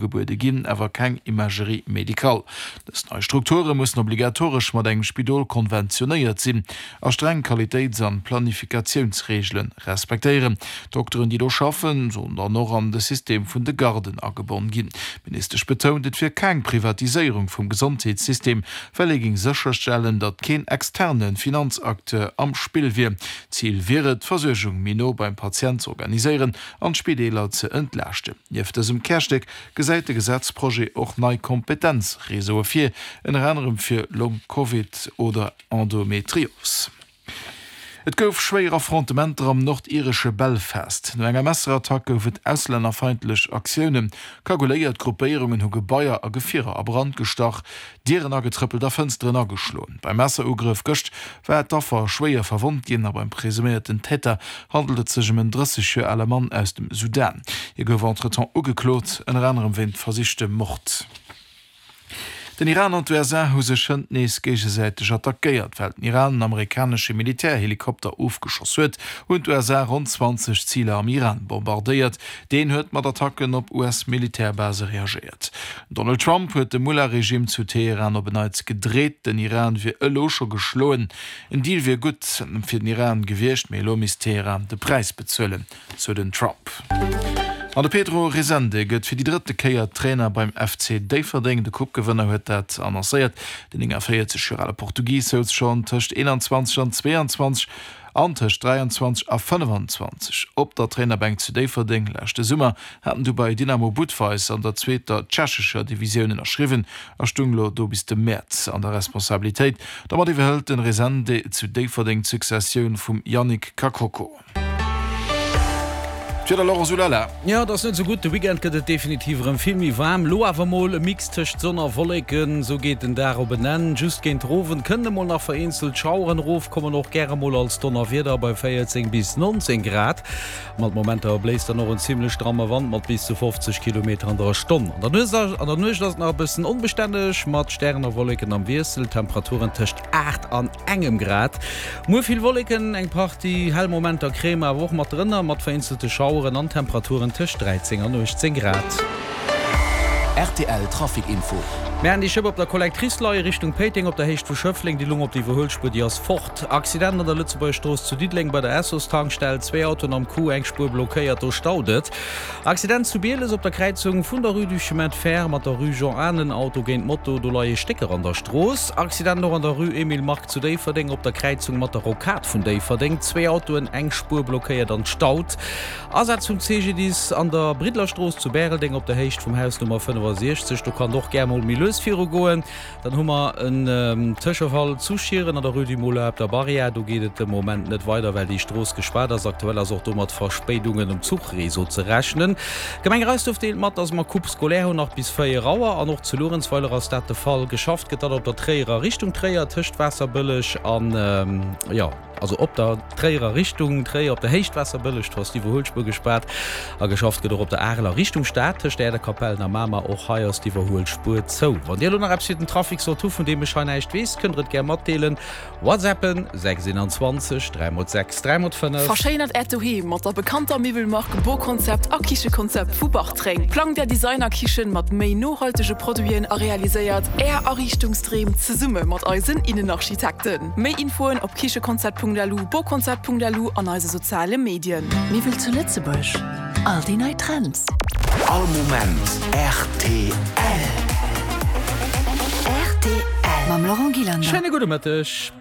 Ugebuede ginn, awer keng Imagerie médicale. Dës nei Strukture mussen obligatoresch mat engem Spidol konventionéiert sinn a streng Qualitéits an Planifikatiounsreegele respektéieren. D'Dokteren, déi do schaffen, sollen dann och an de System vun de Garden agebonn ginn. D'Ministesch betount, et wier keng Privatiséierung vum Gesondheetssystem, well ee géing sécherstellen, datt keen externe Finanzacteur am Spill wier. Zil wier et, d'Versuergung méi no beim Patient z'organiséieren an d'Spideeler ze entlaaschten. Nieft dësem Kärstéck gesäit de Gesetzprojet och nei Kompetenzreseaue vir, ënner anerem fir Long-Covid oder Endometrios. Et gouf schwéier Affrontementer am nordiresche Belfast. No enger Messerattack gouf et auslännerfeindlech Aktiounen. Kagouléiert Gruppéierungen hu Gebaier a Gefierer a Brand gestach, Dieren agetrëppelt a Fënsteren ageschloen. Beim Messerugrëff gëscht war d'Affer schwéier verwonnt ginn a beim presuméierten Täter handelt et sech ëm en 30 Joer ale Mann aus dem Sudan. Hie gouf entretemps ugeklot, ënner anerem wéint versichtem Mord. Den Iran an d'USA hu sech hënt nees géigesäiteg attackéiert. Well den Iran en amerikanesche Militärhelikopter ofgeschoss huet, hunn d'USA ronn 20 Ziler am Iran bombardéiert. Deen huet mat Attacken op US-Militärbase reagéiert. Donald Trump huet de Mullah-Regime zu Teheran op en Neits gedreet. Den Iran wier elo scho geschloen. En Deal wier gutt fir den Iran gewiescht, mee elo misst Teheran de Präis bezuelen, sou den Trump. An de Pedro Resende gëtt fir déi drëtte Kéier Trainer beim FC Déifferdeng. De Coupe-Gewënner huet dat annoncéiert. Den 49 Joer ale Portugis souz schonn tëscht 21 an 22 An tëscht 23 a 25 op der Trainerbänk zu Déifferdeng. Leschte Summer hat en du bei Dynamo Budweis an der zweeter tschechescher Divisioun ënnerschriwwen a stung lo do bis de Mäerz an der Responsabilitéit. Domat iwwerhëlt den Resende zu Déifferdeng d'Successioun vum Yannick Kakoko. D'Wieder, Laurent Soulala. Jo, et ass net esou gutt. De Weekend gëtt et definitiv erëm vill méi waarm. Lo awer mol e Mix tëscht Sonn a Wolleken, esou geet den Dag op en Enn. Just géint den Owend kënnen emol nach vereenzelt Schaueren erofkommen, och gäre mol als Donnerwieder bei 14 bis 19 Grad. Mat Momenter bléist dann och en zimmlech stramme Wand mat bis zu 50 Kilometer an der Stonn. An der Nuecht ass et nach e bëssen onbestänneg mat Stären a Wolleken am Wiessel, Temperaturen tëscht 8 an engem Grad. Muer vill Wolleken, eng Partie hell Momenter kréie mer awer och mat drënner, mat vereenzelte Schaueren an Temperaturen tëscht 13 an 18 Grad. Rtl Trafic Info. Mir haten déi Schëpp op der Collectrice leie Richtung Péiteng op der Héicht vu Schëffleng. Déi lung op der Iwwerhuelspuer, déi ass fort. Accident an der Lëtzebuerger Strooss zu Diddeleng bei der Essos-Tankstell, zwéi Autoen am Coup, eng Spuer blockéiert, do staut et. Accident zu Bieles op der Kräizung vun der Rue du Chemin de Fer mat der Rue Jean Anen, Auto géint Moto, do leie Stécker an der Strooss. Accident och an der Rue Emile Mark zu Déifferdeng op der Kräizung mat der Rocade vun Déifferdeng, zwéi Autoen, eng Spuer blockéiert an staut. Asaz vum CGDIS an der Bridlerstrooss zu Bäreldeng op der Héicht vum Haus Nummer 65, do kann et och gär mol méi lues virugoen. Dann hu mer en Tëschefall zu Schieren an der Rue du Moulin op der Barrière. Do geet et de Moment net weider, well déi Strooss gespaart ass. Aktuell ass och do mat Verspéidungen um Zuchreseau ze rechnen. D'Gemeng Reisduerf deelt mat, dass mer Coupe scolaire hunn nach bis 4 Auer an och zu Luerenzweiler ass dat de Fall. Geschafft gëtt dann op der Tréierer Richtung Tréier tëscht Waasserbëlleg an, jo. Also op der Tréierer Richtung Tréier op der Héicht Waasserbëlleg, do ass d'Iwwerhuelspuer gespaart a geschafft gëtt och op der Areler Richtung Stad tëscht Äerderkapellen a Mamer. Och hei ass d'Iwwerhuelspuer zou. Wann Dir elo nach eppes fir den Trafic sollt hu vun deem ech hei näischt weess, kënnt der et gär matdeelen. Whatsappen 6 21 3 x 6 3 x 5. Verschéinert Äert Doheem mat der bekannter Miwwelmark Boconcept a Kichekonzept vu Bartreng. Plangt Är Designerkichen mat méi nohaltege Produiten a realiséiert Är Ariichtungsdreem zesumme mat eisen Innenarchitekten. Méi Infoen op kichekonzept.lu, boconcept.lu an eise soziale Medien. Miwwel zu Lëtzebuerg, all déi nei Trends. All Moment rtl. Rtl. Mam Laurent Gillander. Schéine gudde Mëtteg.